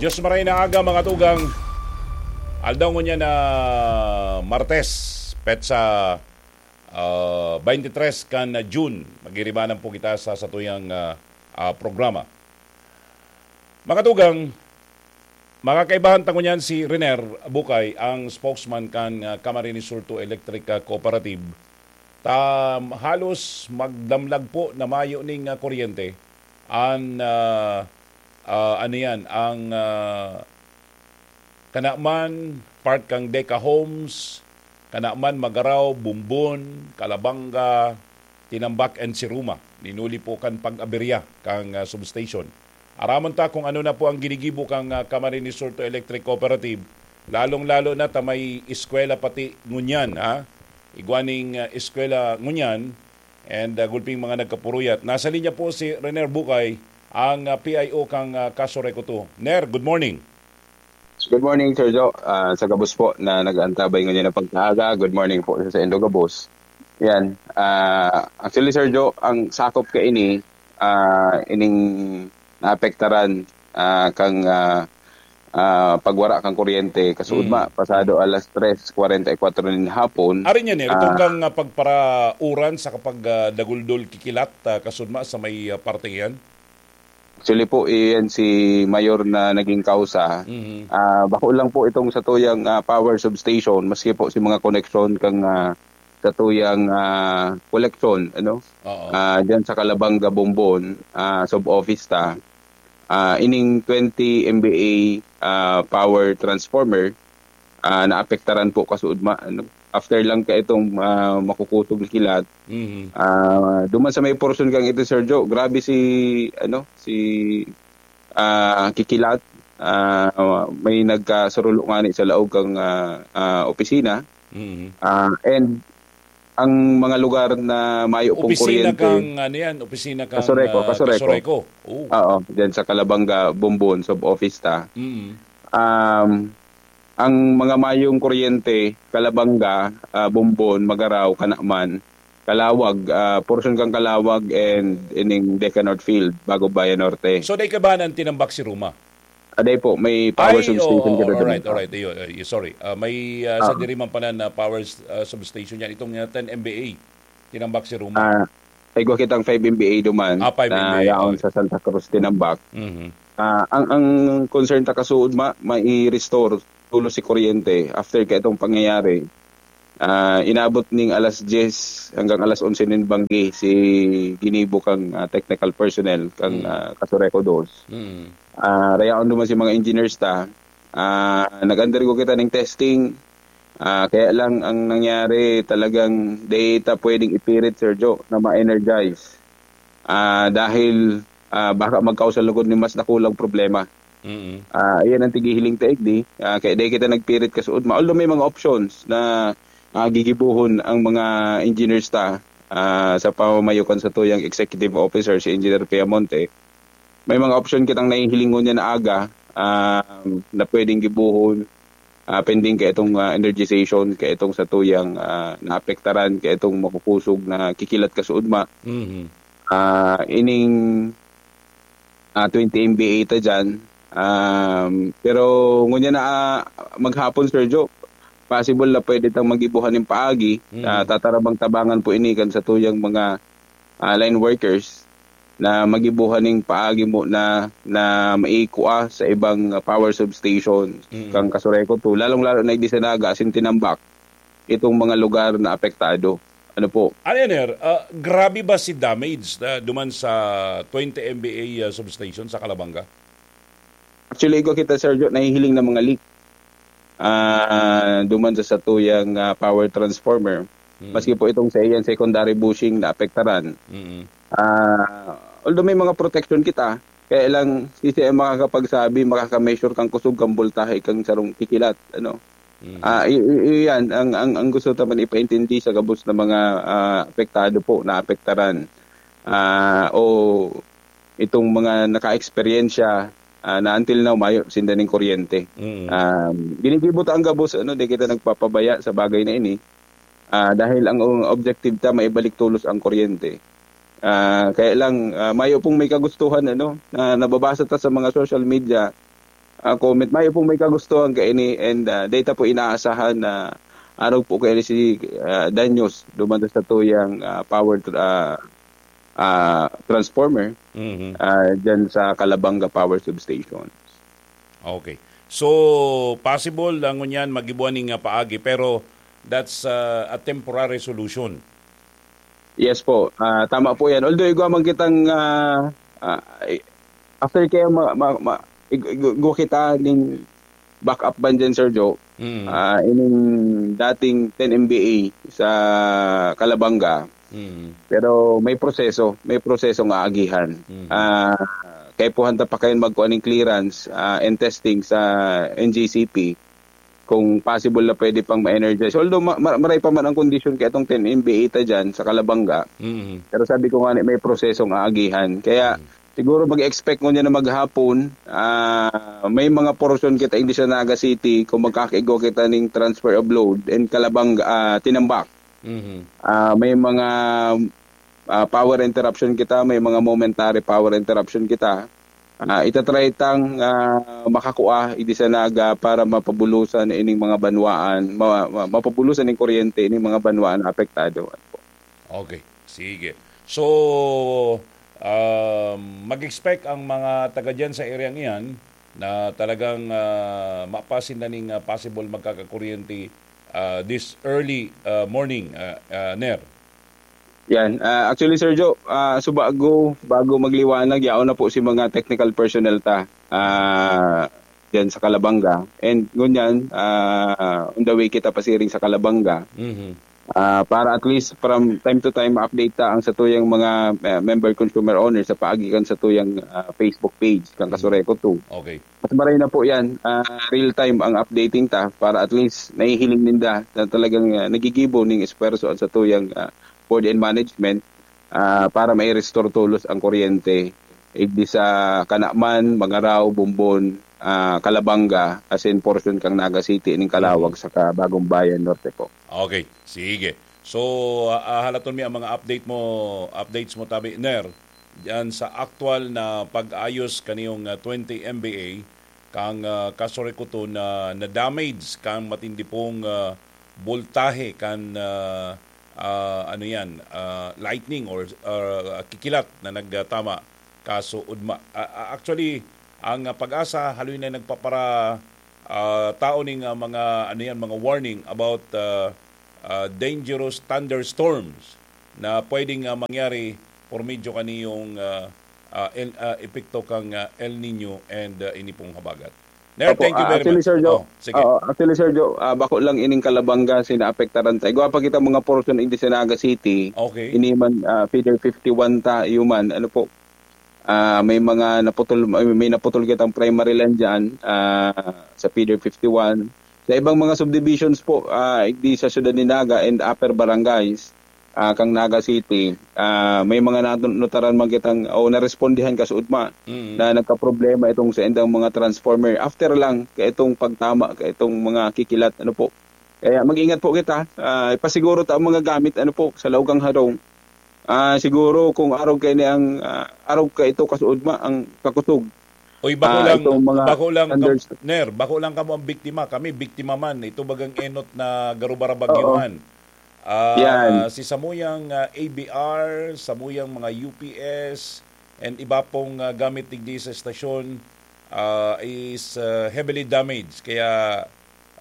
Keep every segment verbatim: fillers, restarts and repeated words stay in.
Diyos maray na aga, mga tugang. Aldaw ngunyan na Martes, petsa, ah, twenty-three kan June. Magiribanan po kita sa satuyang, ah, ah, programa. Mga tugang, makakaibahan ta ngunyan si Renier Bucay, ang spokesman kan, ah, Camarines Sur Two Electric, ah, Cooperative. Ta halos magdamlag po na mayo ning, ah, kuryente. An, ah, ah, ano yan, ang, ah, Kanaman, part kang Deca Homes, Kanaman, Magarao, Bumbon, Calabanga, Tinambac and Siruma. Ninuli po kan pag-aberya kang, ah, substation. Aramon ta kung ano na po ang ginigibo kang, ah, Camarines Sur Two Electric Cooperative, lalong-lalo na ta may eskwela pati ngunyan, ha? Igwa ning, ah, eskwela ngunyan, and, ah, gulping mga nagkapuruyat. Nasa linya po si Renier Bucay, ang, ah, P I O kang, ah, Casureco Two. Ner, good morning. Good morning, Sir Joe. Ah, sa gabos po na nag-aantabay ngunyan na pagkaaga, good morning po sa saindo gabos. Yan. Ah, actually, Sir Joe, ang sakop kaini, ah, ining naapektaran, ah, kang, ah, ah, pagwara kang kuryente. Kasuod Mm. ma, pasado alas tres kwarenta y kwatro nin hapon. Ari niya, Ner, itong Ah. kang, ah, pagparauran sa kapag, ah, daguldol kikilat, ah, kasuod ma sa may, ah, parteng iyan? Actually po, iyan si Mayor na naging kausa. Mhm. Ah, bako lang po itong satuyang, ah, power substation, maski po si mga koneksyon kang, ah, satuyang, ah, koleksyon, ano? Oo. Ah, diyan sa Calabanga, Bombon, ah, sub-office ta. Ah, ining twenty M V A, ah, power transformer, ah, naapektaran po kasuod ma-, ano, after lang ka itong, ah, makukusog na kilat. Mhm. Ah, duman sa may porsyon kang ito, Sir Joe, grabe si, ano, si, ah, kikilat. Ah, may nagkasurulo ngani sa laog kang, ah, ah, opisina. Mhm. Ah, and ang mga lugar na mayo pong Opisina kuryente kang, ano yan? Opisina kang, Kasureco, ah, Kasureco. Kasureco. Oo. Oo, dyan sa Calabanga, Bombon, sub-office ta. Mm. Um, ang mga mayong kuryente, Calabanga, ah, Bombon, Magarao, Kanaman, Calawag, ah, portion kang Calawag and ining Deca North Field, Bago Bayan Norte. So, dai ka ba nang tinambak si Ruma? Aday po, may power Ay, substation oo, ka doon. Alright, alright. Iyo, iyo, sorry. Ah, may, ah, sa Ah. Diriman pala na power, ah, substation yan. Itong, ah, ten M V A, tinambak si Ruma. Ah, ay, gwa kitang five M V A duman Ah, five na M V A, yaon oh. sa Santa Cruz, tinambak. Mhm. Ah, ang, ang concern ta kasuod, ma-, mai-restore tulo si kuryente after ka itong pangyayari. Ah, inabot ning alas diyes hanggang alas onse nin banggi si ginibo kang, ah, technical personnel kang, Mm. ah, Kasureco Dos. Mm. Ah, rayaon duman si mga engineers ta. Ah, nag-undergo kita ning testing. Ah, kaya lang ang nangyari, talagang di ta pwedeng ipirit, Sir Joe, na ma-energize. Ah, dahil, ah, baka magkausa lugod nin mas dakulang problema. Mm. Ah, iyan ang tigihiling ta igdi. Ah, kaya di kita nagpirit kasuod ma. Although may mga options na, ah, gigibohon ang mga engineers ta, ah, sa pamamayo kan satuyang executive officer, si Engineer Piamonte. May mga option kitang nahihiling ngunyan na aga, ah, na pwedeng gibohon, ah, pending ka itong, ah, energization, ka itong satuyang, ah, naapektaran, ka itong makukusog na kikilat kasuod ma. Mhm. Ah, ining, ah, twenty M V A ta dyan. Um, pero ngunyan na, ah, maghapon, Sir Joe, possible na pwede tang magibuhan ning paagi. Mm. Ah, tatarabang-tabangan po ini kan satuyang mga, ah, line workers na magibuhan ning paagi mo na, na maikua sa ibang, ah, power substation Mm. kang Kasureco Two, lalong-lalo na igdi sa Naga asin Tinambac, itong mga lugar na apektado. Ano po? Ano yan, Ner? Ah, grabe ba si damage na duman sa twenty M V A, ah, substation sa Calabanga? Actually, igwa kita, Sergio, nahihiling na mga leak. Ah, duman sa satuyang, ah, power transformer. Mm. Maski po itong sa iyan secondary bushing na apektaran. Mm. Ah, although may mga protection kita, kaya lang, sisay ang makakapagsabi, makaka-measure kang kusog, kang boltahe, kang sarong kikilat, ano? Mm. Ah, i-, i-, iyan ang, ang, ang gusto ta man ipaintindi sa gabos na mga, ah, apektado po, naapektaran. Ah, o itong mga naka-eksperyensya, ah, na until now, mayo sinda ning kuryente. Mm. Um, ginigibo ta ang gabos, ano, di kita nagpapabaya sa bagay na ini. Ah, dahil ang, ang objective ta, maibalik tolos ang kuryente. Ah, kaya lang, ah, mayo pong may kagustuhan, ano, na nababasa ta sa mga social media, ah, comment. Mayo pong may kagustuhan kaini, and, ah, data po inaasahan na arog po kaini si, ah, Danyos duman sa tuyang, ah, power tr-, ah, ah, transformer, Mhm. ah, dyan sa Calabanga Power Substation. Okay. So, possible na ngunyan magibuan ning, ah, paagi, pero that's, ah, a temporary solution. Yes po. Ah, tama po yan. Although igwa man kitang, ah, ah, i-, after kaya ma-, ma-, ma-, ig-, ig-, igwa kita ning backup ban dyan, Sir Joe. Mm. Ah, ining dating ten M V A sa Calabanga. Mm. Pero may proseso, may proseso nga agihan. Mm. Ah, kaipuhan ta pa kayo magkuha ning clearance, ah, and testing sa N G C P kung possible na pwede pang ma-energize. Although ma-, ma-, maray pa man ang kondisyon kaya itong ten M V A ta dyan sa Calabanga. Mm. Pero sabi ko nga, may prosesong aagihan. Kaya Mm. siguro mag-expect ngunyan na maghapon, ah, may mga portion kita in Naga City kung magkakaigwa kita ning transfer of load and Calabanga, ah, Tinambac. Mhm. Ah, may mga, ah, power interruption kita, may mga momentary power interruption kita. Ah, itatry tang, ah, makakua, idi sa Naga para mapabulusan ining mga banwaan, ma-, ma-, mapabulusan ning kuryente ining mga banwaan na apektado. Okay, sige. So, um, mag-expect ang mga taga dyan sa area iyan na talagang, ah, mapasin na ning, ah, possible magkakakuryente, ah, this early, ah, morning, ah, ah, Ner. Yan. Ah, actually, Sir Joe, ah, so bago, bago magliwanag, yaon na po si mga technical personnel ta, ah, dyan sa Calabanga. And ngunyan, ah, on the way kita pasiring sa Calabanga. Mhm. Ah, para at least from time to time ma-update ta ang satuyang mga, ah, member consumer owners sa paagi kan satuyang, ah, Facebook page kan Mhm. Kasureco two. Okay. Mas maray na po yan, ah, real time ang updating ta para at least nahihiling ninda na talagang, ah, nagigibo ning esfuerso ang satuyang, ah, board and management, ah, para mai-restore tolos ang kuryente. Igdi sa Canaman, Magarao, Bombon, ah, Calabanga, as in portion kang Naga City, ning Calawag, Mhm. saka Bagong Bayan Norte po. Okay, sige. So, ah, ah, halaton mi ang mga update mo, updates mo, tabi, Ner, diyan sa aktual na pag-ayos kaniyong, ah, twenty M V A, kang, ah, Kasureco two na na-damage kang matindi pong, ah, boltahe kan, ah, ah, ano yan, ah, lightning or, ah, kikilat na nagtama kaso ugma. Ah, ah, actually, ang, ah, PAGASA haloy na nagpapara-, ah, tao ning, ah, mga, ano yan, mga warning about, ah, ah, dangerous thunderstorms na pwedeng, ah, mangyari por medyo kaniyong, ah, ah, El, ah, epekto kang, ah, El Nino and, ah, ini pong habagat. Ner, Opo, thank you ah, very actually, much. Sir Joe, Oh, sige. Oo, actually, Sir Joe, ah, bako lang ining Calabanga, sinaapektaran ta. Igwa pa kita mga portion in Naga City. Okay. Ini man, ah, feeder fifty-one ta, human, ano po, ah, may mga naputol, may, may naputol kitang primary line dyan, ah, sa feeder fifty-one. Sa ibang mga subdivisions po, ah, igdi sa siyudad ni Naga and upper barangays, ah, kang Naga City, ah, may mga natu-, nataran man kitang o narespondihan kasuodma Mm. na nagkaproblema itong sa indang mga transformer. After lang ka itong pagtama, ka itong mga kikilat, ano po. Kaya mag-ingat po kita. Ah, ipasiguro ta ang mga gamit, ano po, sa laog kang harong. Ah, siguro kung arog kaini ang, ah, arog ka ito kasuodma, ang kakusog. Uy, bako Ah, lang, itong mga bako lang kam-, thunders- Ner, bako lang kamo ang biktima. Kami, biktima man. Ito bagang enot na garubarabagyohan. Oo. Ah, Yan. Si samuyang, ah, A B R, samuyang mga U P S, and iba pong, ah, gamit digdi sa estasyon, ah, is, ah, heavily damaged. Kaya,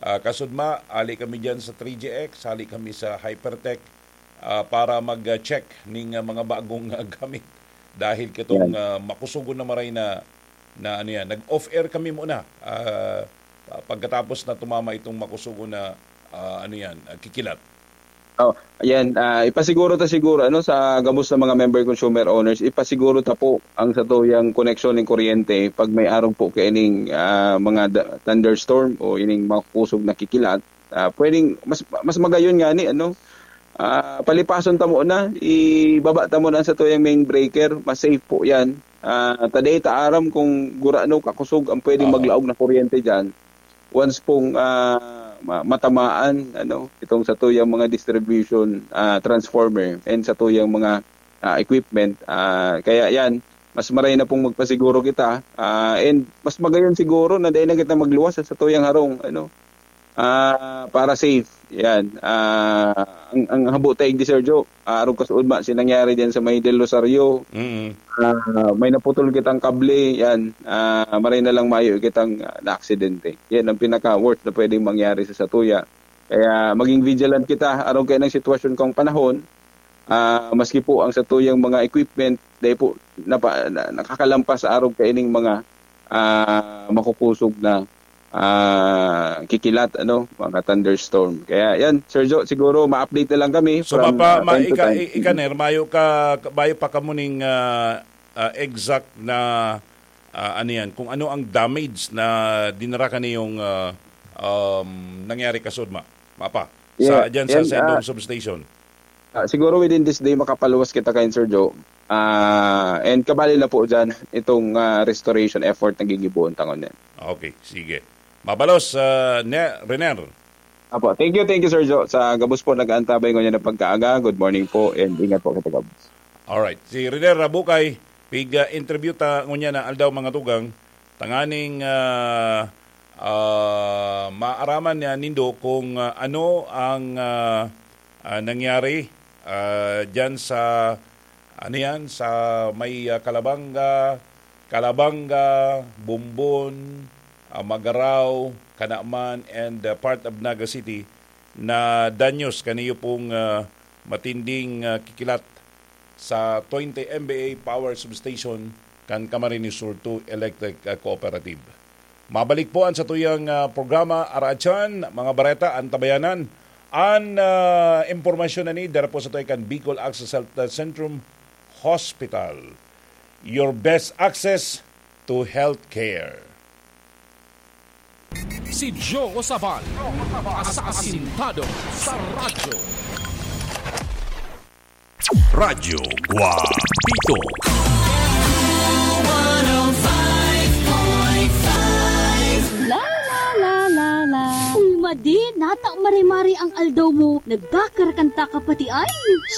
ah, kasudma, ali kami dyan sa three G X, ali kami sa Hypertech, ah, para mag-check ning, ah, mga bagong, ah, gamit. Dahil kitong, Yan. ah, makusugon na maray na, na ano yan. Nag-off-air kami muna, ah, pagkatapos na tumama itong makusugon na, ah, ano yan, ah, kikilat. Oh, ayan, ah, ipasiguro ta siguro, ano, sa gabos na mga member consumer owners, ipasiguro ta po ang satuyang koneksyon ning kuryente pag may arog po kaining, ah, mga da-, thunderstorm o ining mga kusog na kikilat. Ah, pwedeng mas, mas magayon nga ni, ano, ah, palipason ta muna, ibaba ta muna ang satuyang main breaker, mas safe po yan. Ah, ta dai ta aram kung gurano kakusog ang pwedeng Oo. maglaog na kuryente dyan. Once pong, ah, ma-, matamaan, ano, itong satuyang mga distribution, ah, transformer and satuyang mga, ah, equipment, ah, kaya yan, Mas maray na pong magpasiguro kita, ah, and mas magayon siguro na dai na kita magluwas sa satuyang harong, ano, ah, para safe. Yan. Ah, ang, ang habo ta igdi, Sir Joe, ah, arog kasuodma si nangyari diyan sa may Del Rosario. Mm. Ah, may naputol kitang kable, yan. Ah, maray na lang mayo kitang, ah, naaksidente. Yan ang pinaka-worst na pwedeng mangyari sa satuya. Kaya maging vigilant kita arog kainang sitwasyon kang panahon. Ah, maski po ang satuyang mga equipment, dahil po napa-, na-, nakakalampas arog kaining mga, ah, makukusog na, ah, kikilat, ano, mga thunderstorm. Kaya yan, Sir Joe, siguro ma-update na lang kami So, from, mapa-, ah, ma-, time to ika-, time. i-, ikaner, mayo ka, mayo pa kamo ning, ah, ah, exact na, ah, ano yan, kung ano ang damage na dinara kaniyong, ah, um, nangyari kasuodma, mapa, sa, Yan, dyan sa yan, Sendong ah, Substation. Ah, siguro within this day, makapaluwas kita kayan, Sir Joe. Ah, and kabali na po dyan itong, ah, restoration effort na gigibohon ta ngunyan. Okay, sige. Mabalos, ah, ne-, Rener. Apo, thank you, thank you, Sir Joe. Sa gabos po nag-aantabay ngunyan na pagkaaga, good morning po and ingat po kita gabos. Alright. Si Rener Rabukay, pig, ah, interview ta ngunyan na aldaw, mga tugang, tanganing, ah, ah, maaraman niya nindo kung, ah, ano ang, ah, ah, nangyari, ah, dyan sa, ano yan, sa may, ah, Calabanga, Calabanga, Bombon, ah, Magarao, Canaman, and, ah, part of Naga City na danyos kaniyo pong, ah, matinding, ah, kikilat sa twenty M V A power substation kan Camarines Sur two Electric, ah, Cooperative. Mabalik po an satuyang, ah, programa, Araatsan, mga bareta, an tabayanan. An, ah, impormasyon na ni dara po sa tuya kan Bicol Access Health Centrum Hospital. Your best access to healthcare. Si Joe Sabal, asasintado sa radyo. Radyo Guapito. La, la, la, la, la. Uy, Madi, nata mare-mare ang aldaw mo. Nagkakarakanta ka pati ay.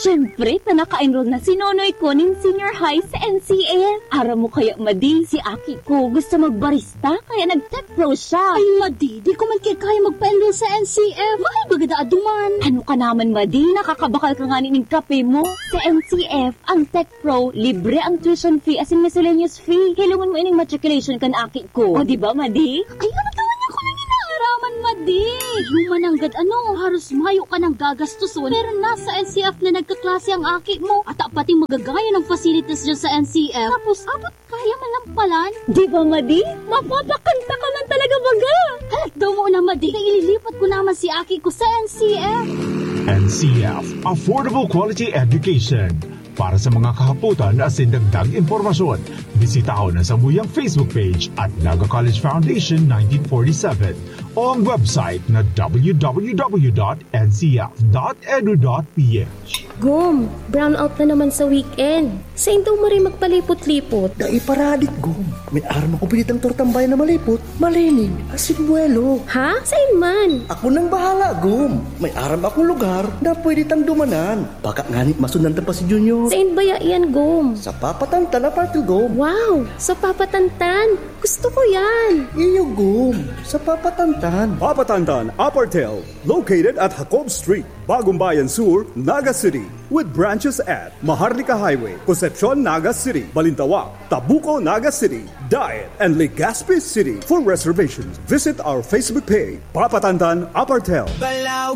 Siyempre, ta naka-enroll na si Nonoy ko nin senior high sa N C F. Aram mo kaya, Madi, si aki ko gusto magbarista, kaya nag-tech pro siya. Ay, Madi, di ko man kaya magpa-enroll sa N C F. Mahal baga daa duman. Ano ka naman, Madi? Nakakabakal ka nga nin kape mo. Sa N C F, ang tech pro, libre ang tuition fee asin miscellaneous fee. Hilongon mo ining matriculation kan aki ko. O, di ba, Madi? Ay, ano daw niya ko nang inaaraman, Madi? Human nanggad ano, haros mayo ka nang gagastoson, pero nasa N C F na nagkaklase ang aki mo. At pati magagayon ang facilities dyan sa N C F. Tapos, abot kaya man lang palan. Di ba, Madi? Mapapakanta ka man talaga baga. Halat daw mo na, Madi. Kaya ililipat ko naman si aki ko sa N C F. N C F, Affordable Quality Education. Para sa mga kahapotan asin dagdag impormasyon, bisitahon ang samuyang Facebook page at Naga College Foundation nineteen forty-seven o ang website na w w w dot n c f dot edu dot p h. Gom, brownout na naman sa weekend. Sain daw maray magpalipot-lipot? Dai paradik, Gom. May aram ako pinitang tortambay na malipot, malinig, asin buwelo. Ha? Sain man? Ako nang bahala, Gom. May aram akong lugar na pwede tang dumanan. Baka ngani masundan ta pa si Junior. Sain baya iyan, Gom? Sa Papa Tantan Apartel, Gom. Wow! Sa Papa Tantan! Gusto ko yan! Iyo, Gom. Sa Papa Tantan. Papa Tantan Apartel, located at Jacob Street, Bagong Bayan Sur, Naga City, with branches at Maharlika Highway, Concepcion, Naga City, Balintawak, Tabuco, Naga City, Daet, and Legazpi City. For reservations, visit our Facebook page, Papa Tantan Apartel.